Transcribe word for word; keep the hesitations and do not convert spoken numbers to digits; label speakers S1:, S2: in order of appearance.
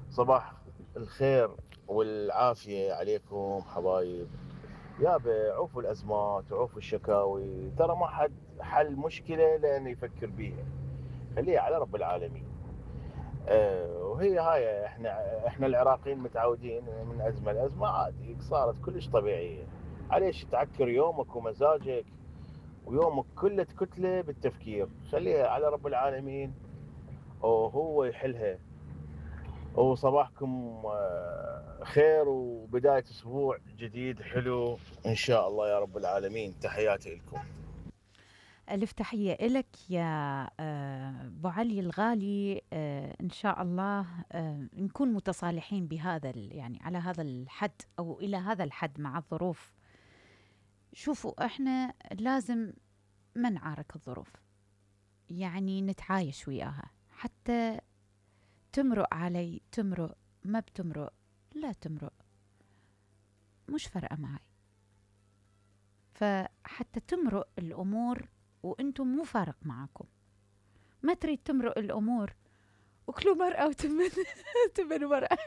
S1: صباح الخير والعافية عليكم حبايب. يابا عوفوا الأزمات وعوفوا الشكاوي، ترى ما حد حل مشكلة لأن يفكر بيها، خليها على رب العالمين. أه وهي هاي احنا احنا العراقيين متعودين من أزمة لأزمة، عادي صارت كلش طبيعية. عليش تعكر يومك ومزاجك ويومك كله كتلة بالتفكير؟ خليها على رب العالمين وهو يحلها. وصباحكم آه، خير وبداية أسبوع جديد حلو إن شاء الله يا رب العالمين. تحياتي لكم.
S2: ألف تحية إلك يا آه، أبو علي الغالي. آه، إن شاء الله آه، نكون متصالحين بهذا ال- يعني على هذا الحد أو إلى هذا الحد مع الظروف. شوفوا إحنا لازم ما نعارك الظروف، يعني نتعايش وياها حتى تمرق علي تمرق، ما بتمرق لا تمرق، مش فارقة معي. فحتى تمرق الأمور وأنتم مو فارق معكم، ما تريد تمرق الأمور وكلوا مرأة وتمن تمن مرأة.